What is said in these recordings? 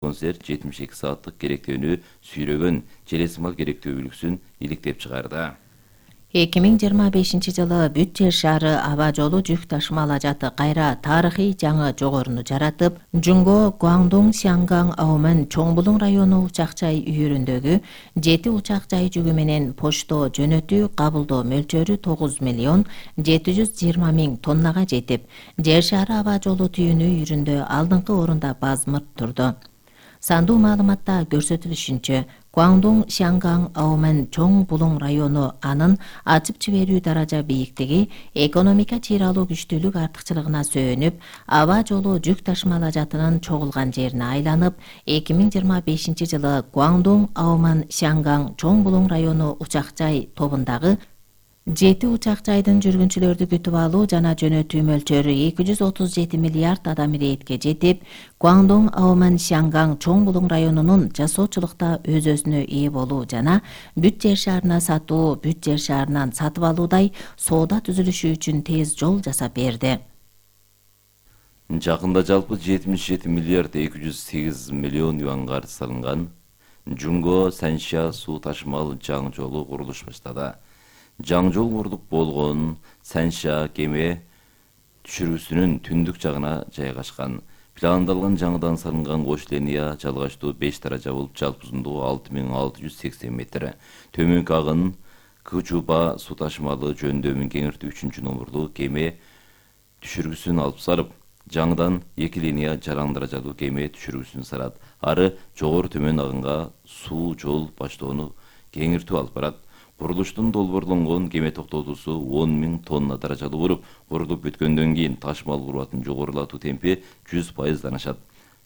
концерт 72 сааттык керектөөнү сүйрөгөн желесмал керектөө үлгүсүн иликтеп чыгарды. 2025-жылы бүт жер шаары аба жолу жүк ташымалажаты кайра тарыхый жаңы жогоруну жаратып, Жунго Гуандун Сянган Аомен Чоңбулуң району учак жай үйүрүндөгү 7 учак жай жүгү менен почто жөнөтүү кабылдоо мөлчөрү 9 миллион 720 миң тоннага жетип, жер шаары аба жолу түйүнү үйүрүндө алдыңкы орунда базмырт турду. Сандуу маалыматта көрсөтүлүшүнчө, Гуандун Сянган Аомен Чоңбулуң району анын ачып жиберүү даража бийиктиги, экономика чыйралуу күчтүүлүк артыкчылыгына сөөнүп, аба жолу жүк ташымалажатынын чогулган жерине айланып, 2025-жылы Гуандун Аомен Сянган Чоңбулуң району учак жай тобундагы 7 учак жайдын жүргүнчүлөрдү күтүп алуу жана жөнөтүү мөлчөрү 237 миллиард адам иретке жетип, Гуандун Аомен Сянган Чоңбулуң районунун жасоочулукта өз-өзүнө ээ болуу жана бүт жер шаарына сатуу, бүт жер шаарынан сатып алуудай соода түзүлүшү үчүн тез жол жасап берди. Жакында жалпы 77 миллиард 208 миллион юанга салынган Жунго Санша суу ташымал жаңы жолу курулуш баштады. Жаңы жол курулуп болгон Санша кеме түшүрүүсүнүн түндүк жагына жайгашкан. Пландалган жаңыдан салынган кош линия жалгачтуу 5 даража болуп, жалпы узундугу 6680 метр. Төмөнкү агын Кычуба суу ташымалы жөндөмүн кеңиртүү 3-номурлуу кеме түшүргүсүн алып салып, жаңыдан 2 линия жаран даражалуу кеме түшүргүсүн салат. Ары жогору төмөн агынга суу жол баштоону кеңиртүү алып барат. Курулуштун долбоорлонгон кеме токтотуусу 10 миң тонна даражалуу болуп, курулуп бүткөндөн кийин ташымал курбатын жогорулатуу темпи 100%дан ашат.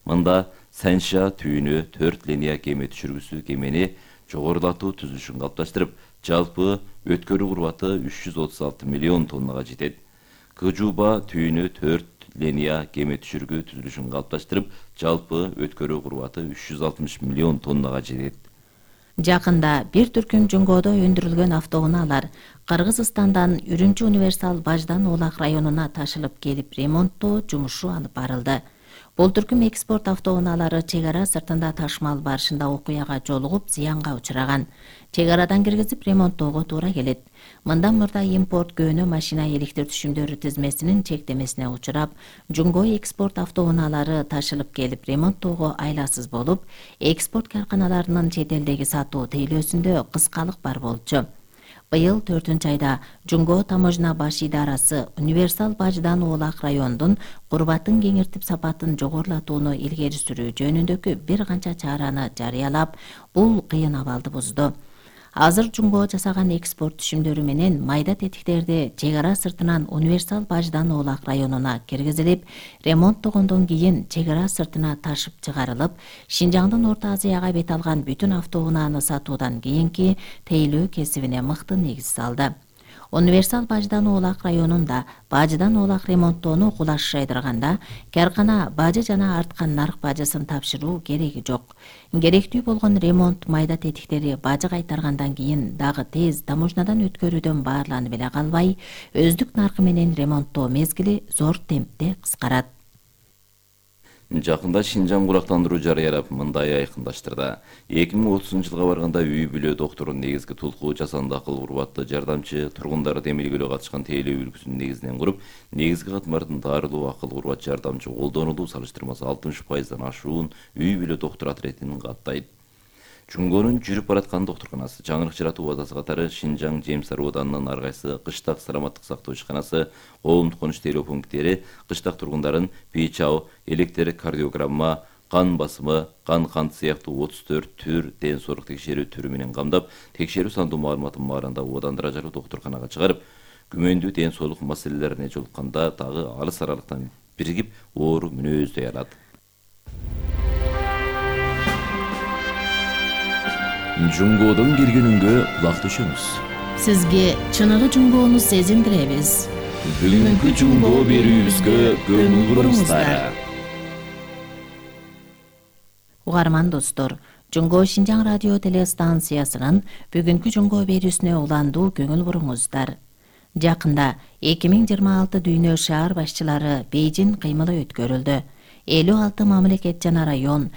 Мында Санша түйүнү 4 линия кеме түшүргүсү кемени жогорулатуу түзүлүшүн калыпташтырып, жалпы өткөрүү курбаты 336 миллион тоннага жетет. Кычуба түйүнү 4 линия кеме түшүргү түзүлүшүн калыпташтырып, жалпы өткөрүү курбаты 360 миллион тоннага жетет. Жакында бир түркүм Жунгодо өндүрүлгөн автоунаалар Кыргызстандан Үрүмчү универсал баждан Оолак районуна ташылып келип ремонттоо жумушу алып барылды. Бул түркүм экспорт автоунаалары чек ара сыртында ташымал барышында окуяга жолугуп, зыянга учураган. Чек арадан киргизип ремонттоого туура келет. Мындан мурда импорт көөнө машина электр түшүмдөрү тизмесинин чектемесине учурап, Жунго экспорт автоунаалары ташылып келип ремонттоого айласыз болуп, экспорт карканаларынын чет элдеги сатуу тейлөөсүндө кыскалык бар болчу. Быйыл 4-айда Жунго таможня баш идарасы универсал баждан Оолак райондун курбатын кеңиртип сапатын жогорулатууну илгери сүрүү жөнүндөгү бир канча чараны жарыялап, бул кыйын абалды бузду. Азыр Жунго жасаган экспорт түшүмдөрү менен майда тетиктерди чек ара сыртынан универсал баждан Оолак районуна киргизилип, ремонттогондон кийин чек ара сыртына ташып чыгарылып, Шинжаңдын Орто Азияга бет алган бүтүн автоунааны сатуудан кийинки тейлөө кесибине мыкты негиз салды. Универсал баждан Оолак районунда баждан Оолак ремонттоону кулаш жайдырганда, каркана бажы жана арткан нарк бажысын тапшыруу кереги жок. Керектүү болгон ремонт майда тетиктери бажы кайтаргандан кийин дагы тез таможнядан өткөрүүдөн баарланып эле калбай, өздүк наркы менен ремонттоо мезгили зор темпте кыскарат. Жакында Шинжаң курактандыруу жарыялап, мындай айкындаштырды. 2030-жылга барганда үй бүлө докторунун негизги тулкуу жасанды акыл курбатты жардамчы тургундарды эмилгөөгө катышкан тейлөө үлгүсүн негизинен куруп, негизги катмардын дарылуу акыл курбат жардамчы колдонулуу салыштырмасы 60%дан ашуун үй бүлө доктор отретин каттайт. Жунгонун жүрүп бараткан докторканасы, жаңырык жаратуу базасы катары Шинжаң Жемсар Оданынын ар кайсы кыштак саламаттык сактоо ишканасы, коомдук коныш тейлөө пункттери кыштак тургундарын ПИЧАО, электрокардиограмма, кан басымы, кан кант сыяктуу 34 түр ден соолук текшерүү түрү менен камдап, текшерүү сандуу маалыматын баарында Одан даражалуу докторканага чыгарып, күмөндүү ден соолук маселелерине жолукканда дагы алыс аралыктан биригип оору мүнөздөй алат. Жунгодон киргенүнгө кулак төшөмүз. Сизге чыныгы Жунгону сезиндиребиз. Бүгүнкү Жунго берүүбүзгө көңүл буруңуздар. Угарман достор, Жунго Шинжаң радио телестанциясынын бүгүнкү Жунго берүүсүнө уландуу көңүл буруңуздар. Жакында 2026 дүйнө шаар башчылары Бейжин кыймылы өткөрүлдү. 56 мамлекет жана район,